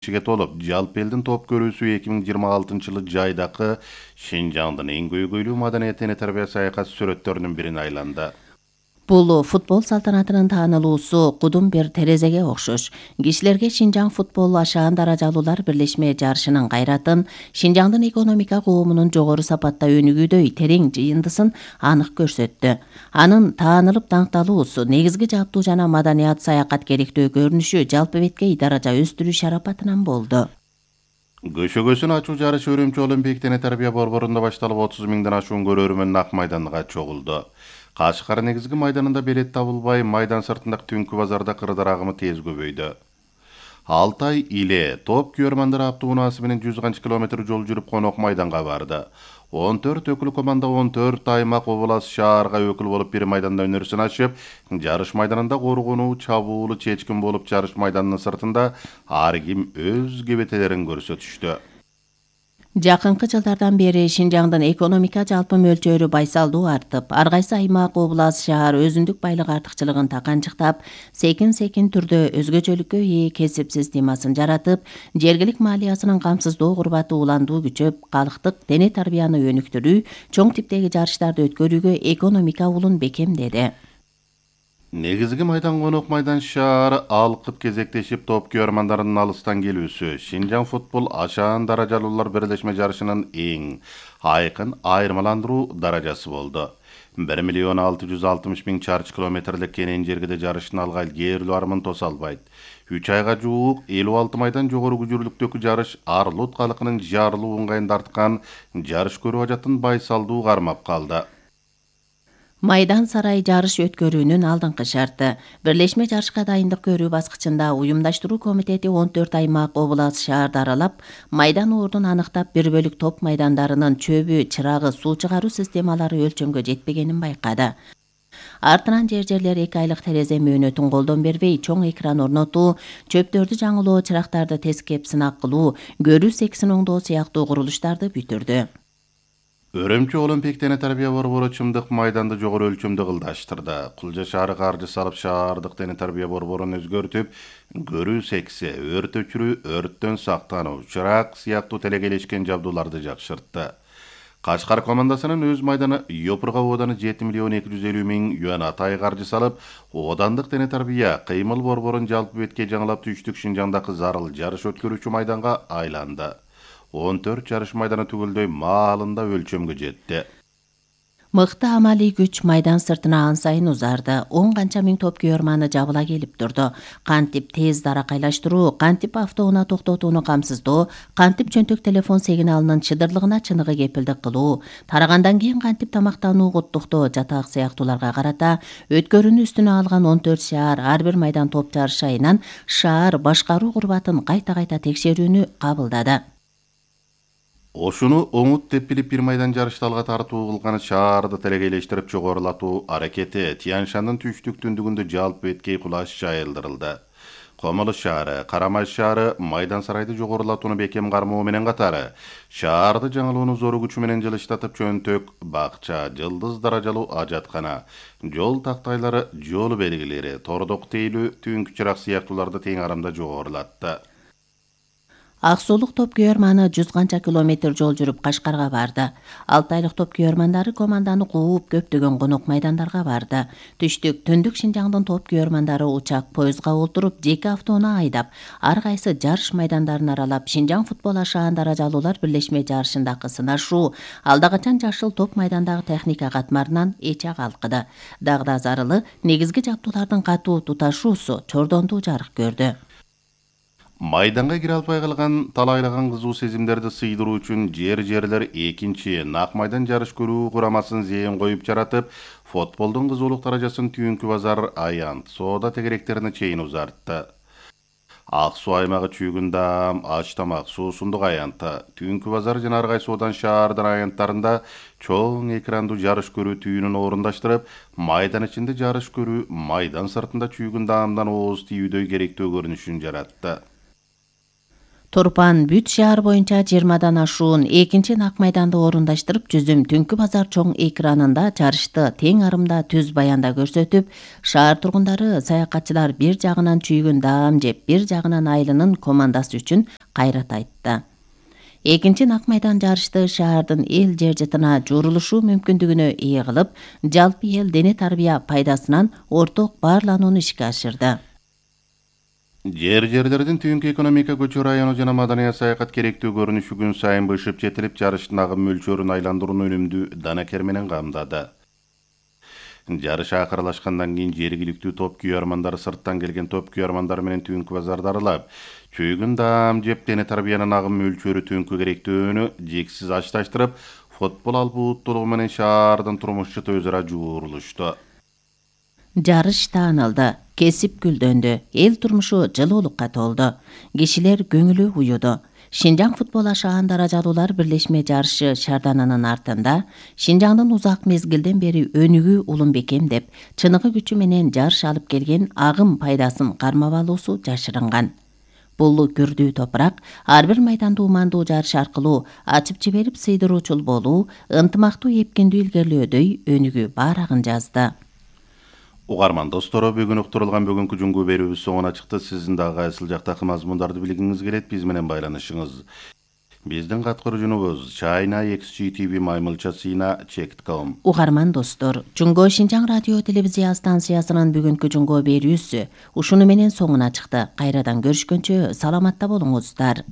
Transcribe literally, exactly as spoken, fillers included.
кишиге толуп, жалпы элдин топ көрүүсү эки миң жыйырма алтынчы жылы жайдакы Шинжаңдын эң көйгөйлүү маданият дене тарбия саякат сүрөттөрүнүн бирине айланды. Бул футбол салтанатынын таанылуусу кудум бир терезеге окшош. Кишилерге Шинжаң футбол ашаан даражалуулар бирлешме жарышынын кайратын, Шинжаңдын экономика коомунун жогору сапатта өнүгүүдөй терең жыйындысын анык көрсөттү. Анын таанылып даңкталуусу негизги жаптуу жана маданият саякат керектөө көрүнүшү жалпы беткей даража өстүрүү шарапатынан болду. Көшөгөсүн ачуу жарышы Өрөмчү Олимпик дене тарбия борборунда башталып отуз миңден ашуун көрөрмөн ак майданга чогулду. Кашкар негизги майданында билет табылбай, майдан сыртындагы түнкү базарда кырдар агымы тез көбөйдү. Алтай Иле топ күйөрмандар автоунаасы менен жүз канча километр жол жүрүп конок майданга барды. он төрт өкүл команда он төрт аймак облас шаарга өкүл болуп бир майданда өнөрүн ачып, жарыш майданында коргонуу, чабуулу, чечкин болуп жарыш майданынын сыртында ар ким өз кебетелерин көрсөтүштү. Жакынкы жылдардан бери Шинжаңдын экономика жалпы мөлчөрү байсалдуу артып, ар кайсы аймак, облас, шаар өзүндүк байлык артыкчылыгын таканчыктап, секин-секин түрдө өзгөчөлүккө ээ кесип системасын жаратып, жергилик маалиясынын камсыздоо курбаты уландуу күчөп, калктык дене тарбияны өнүктүрүү, чоң типтеги жарыштарды өткөрүүгө экономика улун бекемдеди. Негизги майдан конок майдан шаары алкып кезектешип топ күйөрмандарынын алыстан келүүсү Шинжаң футбол ашаан даражалуулар бирлешме жарышынын эң айкын айырмаландыруу даражасы болду. бир миллион алты жүз алтымыш миң чарчы километрлик кенен жергиде жарыштын алгай кээрлүү армын тоса албайт. үч айга жуук элүү алты майдан жогору күчүрлүктөгү жарыш Арлут калкынын жарылуу ыңгайын тарткан жарыш көрүү ажатын байсалдуу кармап калды. Майдан сарай жарыш өткөрүүнүн алдыңкы шарты. Бирлешме жарышка дайындык көрүү баскычында уюмдаштыруу комитети он төрт аймак, облас, шаарды аралап, майдан ордун аныктап, бир бөлүк топ майдандарынын чөбү, чырагы, суу чыгаруу системалары өлчөмгө жетпегенин байкады. Артынан жер-жерлер эки айлык терезе мөөнөтүн колдон бербей, чоң экран орнотуу, чөптөрдү жаңылоо, чырактарды тескеп сынак кылуу, көрүү сексин оңдоо сыяктуу курулуштарды бүтүрдү. Өрөмчү Олимпик дене тарбия борбору чымдык майданды жогору өлчөмдө кылдаштырды. Кулжа шаары каржы салып шаардык дене тарбия борборун өзгөртүп, көрүү сексе, өрт өчүрүү, өрттөн сактануу, чырак сыяктуу телекелешкен жабдууларды жакшыртты. Кашкар командасынын өз майданы Йопурга ооданы жети миллион эки жүз элүү миң юан атай каржы салып, оодандык дене тарбия кыймыл борборун жалпы беткей жаңылап түштүк Шинжаңдагы зарыл жарыш өткөрүүчү майданга айланды. он төрт жарыш майданы түгөлдөй маалында өлчөмгө жетти. Мыкты амалий күч майдан сыртына ан сайын узарды. он канча миң топ күйөрманы жабыла келип турду. Кантип тез даракайлаштыруу, кантип автоунаа токтотууну камсыздоо, кантип чөнтөк телефон сигналынын чыдырлыгына чыныгы кепилдик кылуу, тарагандан кийин кантип тамактануу, куттуктоо, жатак сыяктууларга карата өткөрүүнү үстүнө алган он төрт шаар ар бир майдан топ жарыш айынан шаар башкаруу курбатын кайта-кайта текшерүүнү кабылдады. Ошуну оңут деп билип бир майдан жарышты алга тартуу кылган шаарды телекейлештирип жогорулатуу аракети Тянь-Шандын түштүк түндүгүндө жалпы беткей кулаш жайылдырылды. Комулуш шаары, Карамай шаары майдан сарайды жогорулатууну бекем кармоо менен катары шаарды жаңылууну зору күчү менен жылыштатып чөнтөк, бакча, жылдыз даражалуу ажаткана, жол тактайлары, жол белгилери, тордок тейлүү, түнкү чырак сыяктууларды тең арамда жогорулатты. Аксулук топ күйөрманы жүз канча километр жол жүрүп Кашкарга барды. Алтайлык топ күйөрмандары команданы кууп көптөгөн конок майдандарга барды. Түштүк, түндүк Шинжаңдын топ күйөрмандары учак, поездга олтуруп, жеке автоунаа айдап, ар кайсы жарыш майдандарын аралап, Шинжаң футбол ашаан даражалуулар бирлешме жарышындагы сынашуу, алда качан жашыл топ майдандагы техника катмарынан эче калкыды. Дагы да зарылы негизги жаптуулардын катуу туташуусу чордондуу жарык көрдү. Майданга кире албай калган талайлаган кызуу сезимдерди сыйдыруу үчүн жер-жерлер экинчи Нак майдан жарыш көрүү курамасын зээн коюп жаратып, футболдун кызуулук даражасын Түнкү базар, Аянт, Соода тегеректерине чейин узартты. Ак суу аймагы Чүйгүн Даам, Ач тамак, Суусундук аянты, Түнкү базар жана ар кайсы Соодан шаардын аянттарында чоң экрандуу жарыш көрүү түйүнүн орундаштырып, майдан ичинде жарыш көрүү, майдан сыртында Чүйгүн Даамдан ооз тийүүдөй керектөө көрүнүшүн жаратты. Турпан бүт шаар боюнча жыйырмадан ашуун экинчи нак майданды орундаштырып, жүзүм түнкү базар чоң экранында жарышты тең арымда түз баянда көрсөтүп, шаар тургундары саякатчылар бир жагынан чүйгүн даам жеп, бир жагынан айлынын командасы үчүн кайрат айтты. Экинчи нак майдан жарышты шаардын эл жер жытына жуурулушу мүмкүндүгүнө ээ кылып, жалпы эл дене тарбия пайдасынан орток баарланууну ишке ашырды. Жер жерлердин түйүнкү экономика көчү району жана маданият саякат керектүү көрүнүшү күн сайын бышып жетилип, жарыштын агым мөлчөрүн айландырууну өнүмдүү данакер менен камдады. Жарыш акырлашкандан кийин жергиликтүү топ күйөрмандары сырттан келген топ күйөрмандар менен түйүнкү базарды аралап, чүйгүн даам жеп дене тарбиянын агым мөлчөрү түйүнкү керектүүнү жексиз ачташтырып, футбол албууттуулугу менен шаардын турмушчуты өз ара жуурулушту. Жарыш таанылды, кесип гүлдөндү, эл турмушу жылуулукка толду, кишилер көңүлү уюду. Шинжаң футбол ашаан даражалуулар бирлешме жарышы шаарданынын артында Шинжаңдын узак мезгилден бери өнүгүү улум бекем деп, чыныгы күчү менен жарыш алып келген агым пайдасын кармап алуусу жашырынган. Бул күрдүү топурак ар бир майданды умандуу жарыш аркылуу ачып жиберип сыйдыруучул болуу, ынтымактуу эпкиндүү илгерилөөдөй өнүгүү баарагын жазды. Угарман достору, бүгүн уктурулган бүгүнкү жуңгу берүүбүз соңуна чыкты. Сиздин дагы кайсыл жактагы мазмундарды билгиңиз келет, биз менен байланышыңыз. Биздин каткаруучубуз China X G T V маймылча сыйна чек точка ком. Угарман достор, Жуңго Шинжаң радио телевизия станциясынын бүгүнкү жуңго берүүсү ушуну менен соңуна чыкты. Кайрадан көрүшкөнчө саламатта болуңуздар.